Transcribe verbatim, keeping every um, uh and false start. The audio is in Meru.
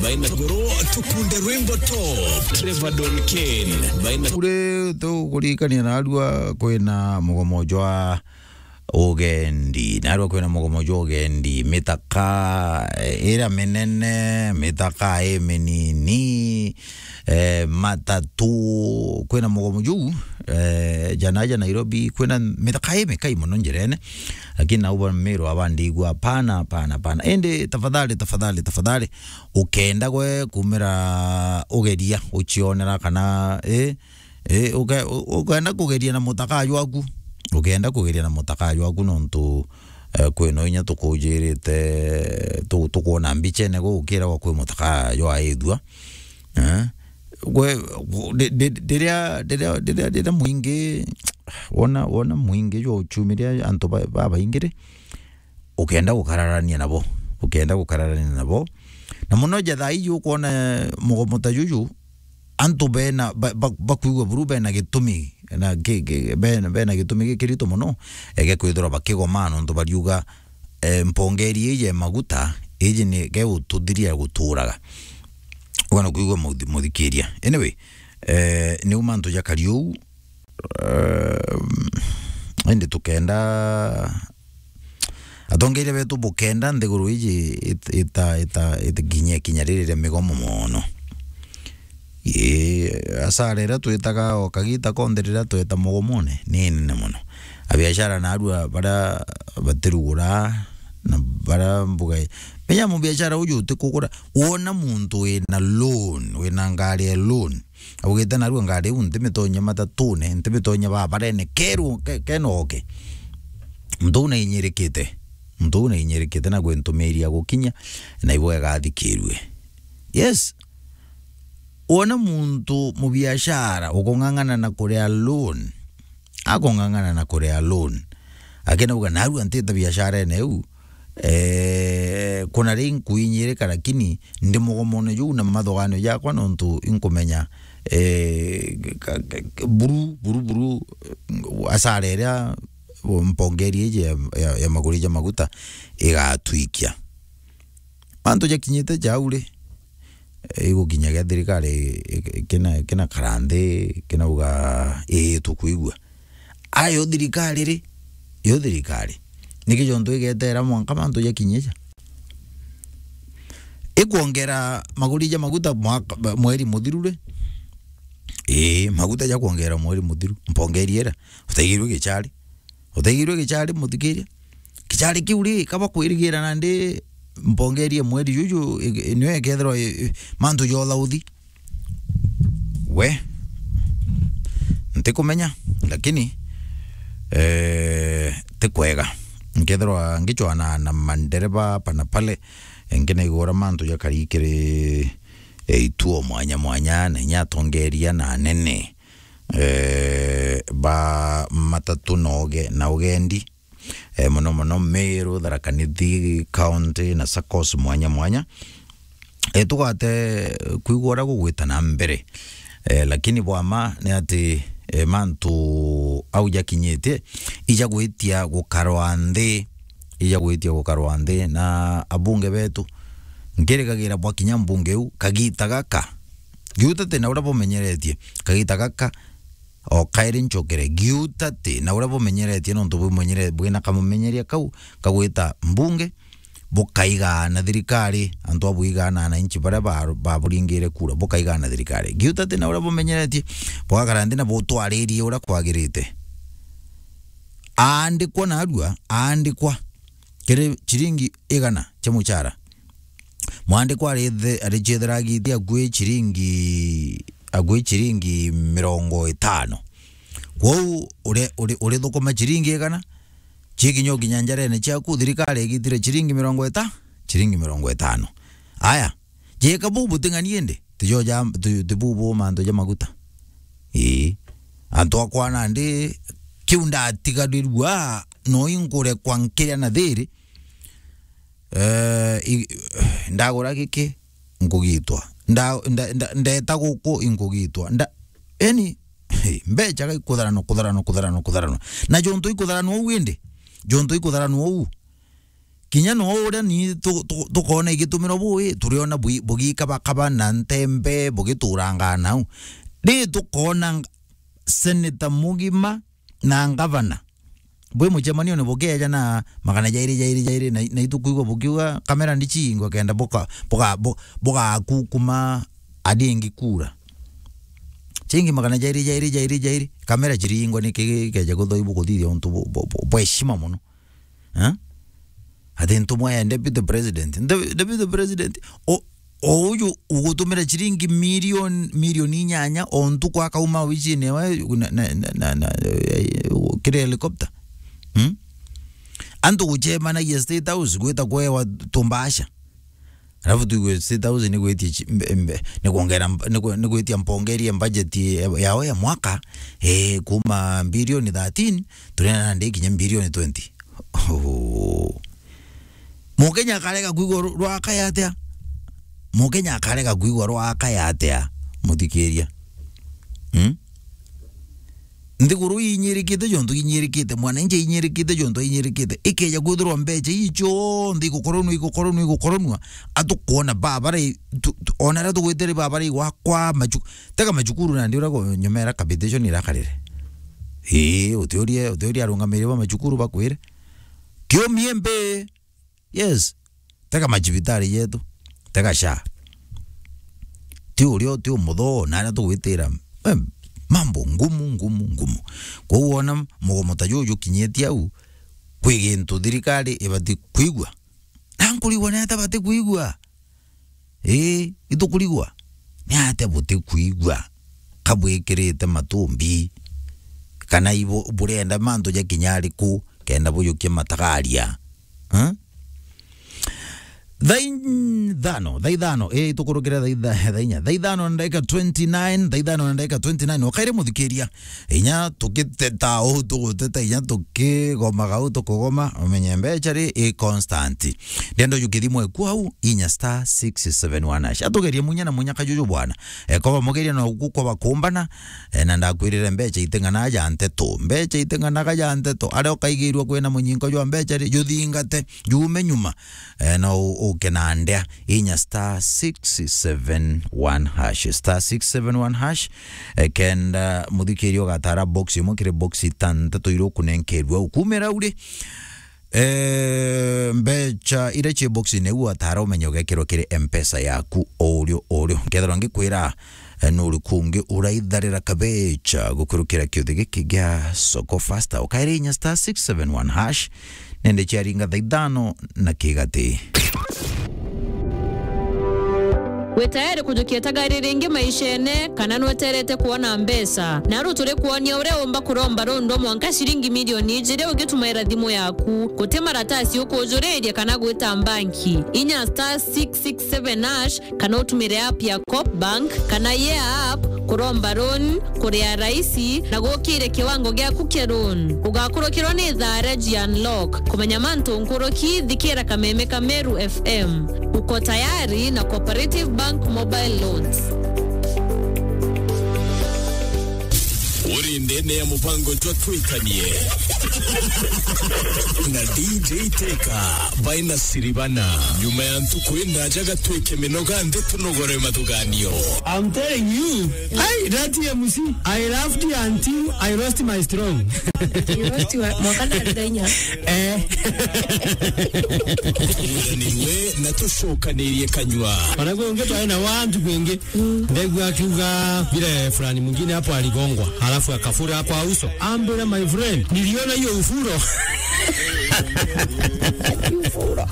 Baina goro tukunde rwimbo top. Trevor Don Kane. Baina kure tukuririkania narua kwina mugomo jwa ugendi. Narua kwina mugomo jwa ugendi. Mitaka, eh, ira minene, mitaka i minini, eh, matatu, kwina mugomo juu, eh, jana ja Nairobi, kwina mitaka i mikai mono njirene. Lakini nau ba Meru abandigua, hapana, hapana, hapana. Indi tafadhali, tafadhali, tafadhali, ukenda gwe kumira ugeria, ucionera kana, eh, eh, uke-, u-, ukenda kugeria na mutaka jwaku, ukenda kugeria na mutaka jwaku, nontu, eh, kwina inya tukujirite, tu-, tukwona mbichene gukiragwa kwi mutaka jwa ithua. Eh? Gwe, gu-, ndi-, ndi-, ndiria, ndiria, ndiria, ndiria mwingi, wona, wona mwingi jwa uchumiria antu ba-, babaingi ri, ukenda gukararania nabo, ukenda gukararania nabo. Na muno ja thaa iji ukwona mugomo ta juju, antu bena, ba-, ba-, bakwigua buru bena gitumi, na ki-, ki-, bena, bena gitumi gikirito muno, ege kwithirwa bakigoma nontu bariuga, eh, mpongeri iji ya maguta, iji ni ge ututhiria guturaga. Ugana kwigua muthi-, muthikiria. Anyway, eh, niu mantu jakari uu, eh, indi tukenda atongeria betu bukenda nthiguru iji it-, ita-, ita-, itikinyia kinya riri ria migomo mono. Ii, asara iria twitaga o kagita konthe riria tweta mugomone ni nene mono. Abiashara narua baria batirugura na baria mbuga i-, menya mubiashara uju utikugura, wona muntu wina loan, wina ngari ya loan, augite, "Narua ngari iu ntimitonya matatune, ntimitonya babarene, kerwo ke-, kenoke." Muntu uu nainyirikite. Muntu uu nainyirikite na gwe ntumiria gukinya, na ibo igathikirue. Yes. Wona muntu mubiashara ukung'ang'ana na kuria loan, akung'ang'ana na kuria loan, akinauga, "Narua ntita biasharene iu, eh, kuna ri nkuinyirika, lakini ndi mugomone juu na mathoganio jakwa, nontu inkumenya, eh, ka-, ka-, ka-, buru, buru, buru, eh, asara iria mpongeri iji ya, ya, ya maguri ja maguta igatwikia." Mantu jakinyite jau ri, eh, igukinyagia thirikari i-, i-, kina, kina kara nthi, kinauga, "Ii, tukwigua." Ayo thirikari ri, yo thirikari. Niki jontu igetera mwanka mantu jakinyie ja? Ikwongera maguri ja maguta mwaka, mweri muthiru ri? Ii, maguta jakwongera mweri muthiru. Mpongeri ira. Utaigirwe gichari. Utaigirwe gichari, muthikiria? Gichari kiu ri, kaba kwirigira nandi mpongeri ya mweri juju, i-, i-, niyo ikethirwa i-, i-, mantu ja uthauthi. We, ntikumenya, lakini, eh, ti kwega. Nkethirwa ngichwana na mandereba hapa na pale, nkinaigua uria mantu jakari kiri, eh, ituo mwanya mwanya, na inya atongeria na anene, eh, ba matatu na uge-, na ugendi. Eh, mono mono Meru, Tharaka Nithi County na saccos mwanya mwanya. Eh, tugate kwigua uria gugwita na mbere. Eh, lakini bwa ma ni ati, eh, mantu au jakinyite, ija gwitia gukarwa nthi, ija gwitia gukarwa nthi na abunge betu. Nkirikagira bwa kinya mbunge iu, kagita gaka, giuta ti na uria bumenyeretie, kagita gaka, o kairi ncokere, giuta ti na uria bumenyeretie, nontu bumenyere-, bwina kamumenyeria kau kagwita mbunge, bukaigaana thirikari, antu a bwigaana ananchi baria ba-, baburingire kura, bukaigaana thirikari. Giuta ti na uria bumenyeretie, bugakara nthi na butwaririe uria kwagirite. Aandikwa narua, aandikwa kiri chiringi igana chia muchara. Mwandikwa arithe-, arichiethera agiti akui chiringi, akui chiringi mirongo itano. Kwou uri-, uri-, urithukuma chiringi igana, chikinya ukinya njarene chiaku, thirikari igitire chiringi mirongo ita-, chiringi mirongo itano. Aya, jeka buu buting'ani indi, tijo ja, ti, ti buu bu mantu ja maguta. Ii. Antu akwa nandi, kiu ndatigarirua, no inkurekwa nkiria na thiri, Eh, i-, ndagura giki, nkugitwa. Nda-, nda-, nda-, ndeta guku, inkugitwa. Nda-, yani, mbecha ga ikutharanwa, kutharanwa, kutharanwa, kutharanwa. Na jontu ikutharanwa uu indi, jontu ikutharanwa uu, Kinya no uria ni tu-, tu-, tukoona igitumirwa bui, turiona bui-, bugikabakaba na ntembe, bugiturangaa nau. Ri tukoona ng-, seneta mugima na ngavana bwi mucemanione bukeeja na magana jairi, jairi, jairi, na, na itukwigua bukiuga, "Kamera ndichingwa kenda buka-, buga-, bu-, bugakukuma adingi kura." Chingi magana jairi, jairi, jairi, jairi, kamera chiringwa niki gikeeja kuthoi bukuthithia untu bu-, bu-, bu-, bwa heshima muno? Eh? Ati ntumwa ya deputy president. Nde-, deputy president, o, o uju ugutumira chiringi milioni, milioni inyanya o ntuku akauma obichini ewe na, na, na, na, na, eh, kiri helicopter. Hmm? Antu gucemanagia State House gwita kwewa tumbasha. Alafu tuigue State House ni gwitia chi-, mbe-, mbe-, ni kuongera mb-, ni ku-, ni gwitia mpongerie budget ya, yao ya mwaka, eh, kuma bilioni thirteen, turena nandi kinya bilioni twenty. Oh. Mukenya akarega kwigua ru-, rwakaya atia? Mukenya akarega kwigua rwakaya atia? Muthikiria. Hmm? Nthiguru inyirikite jontu inyirikite, mwananchi inyirikite jontu inyirikite. Ikeja kwithirwa mbecha ii cionthe igukoronua, igukoronua, igukoronua, atukwona ba barai, tu, tu, ona aria tugwitire ba barai gwakwa machu-, tega machukuru nandi uria go-, nyomera capitation irakarire. Ii, utiurie, utiurie arungamiri ba machukuru bakwire. Kiumie mbi. Yes. Tega machibitari yetu. Tega SHA. Ti uria, ti umuthoo, na aria tugwitira. Em, mambo ngumu, ngumu, ngumu. Kwou wona mugomo ta juju jukinyitie au, kwi gintu thirikari ibati kwigua. Na nkurigwa ni atia bati kwigua? Ii, itukurigwa. Ni atia buti kwigua? Ka bwikirite matumbi? Kana ibu-, burenda mantu jakinya ariku kenda bujukia matagaria? Eh? Thaa ithano, thaa ithano, ii, itukurukire thaa itha-, thaa inya. Thaa ithano na ndagika twenty nine, thaa ithano na ndagika twenty nine. Ukaire muthikiria. Inya tukiteta uu tuguteta, inya tukigomaga uu tukugoma, umenye mbecha ri i constant. Ndenda uju kithimo eku au, inya star six seven one hash. Atugerie munya na munya kajuju bwana. Ekoba mugeria na uku koba kumbana, eh, na ndakwirire mbecha iting'anaga ja nteto. Mbecha iting'anaga ja nteto. Aria ukaigirua kwina munyinko jwa mbecha ri, juthingate, juume nyuma. Eh, no u-, uke na ndea. Inya star six seven one hash. Star six seven one hash. Eh, kenda muthikiria ugatara box imwe kiri box itantatu iria ukunenkerua ukumira uri. Eh, mbecha iria ci box-ini iu watara umenye ugekirwa kiri M-Pesa yaku o urio, o urio. Nkethirwa ngikwira, eh, nuri kungi uraitharira kabecha gukurukira kiuthi giki gia Soko Faster. Ukaire inya star six seven one hash. Nende ciaringa thaa ithano na kigati. Wi tayari kujukia tagari ringi maishene, kana nweterete kwona mbeca? Naru turi kwonia uria umba kuromba rundwa mwanka ciringi milioni ijiri ugitumaira thimu yaku. Guti maratasi ukujuriria kana gwita mbanki. Inya star six six seven hash, kana utumire app ya Coop Bank kana Yea app kuromba loan, kuria raisi na gukire kiwango giaku kia loan. Ugakurukirwa ni thaara ji unlock. Kumenya mantu nkuruki, thikira kameme ka Meru F M. Uko tayari na Cooperative Bank Mobile Loans. Uri ndene ya mubango jwa Twikanie na D J Teka by Nasiribana. Nyuma ya ntuku indaja gatwike minoga nthi tunogore mathuganio. I'm telling you, hey, that M C, I laughed until I lost my strong. You lost your, mwaka na thenya. Eh. Turanirwe na tucokanirie kanyua. Ona kwi ungi twari na wantu kwingi. Ndegua akiuga vile fulani mwingine hapo aligongwa, halafu akafura kwa uso. Ambira, my friend, niliona hiyo ufuro. Ufuro.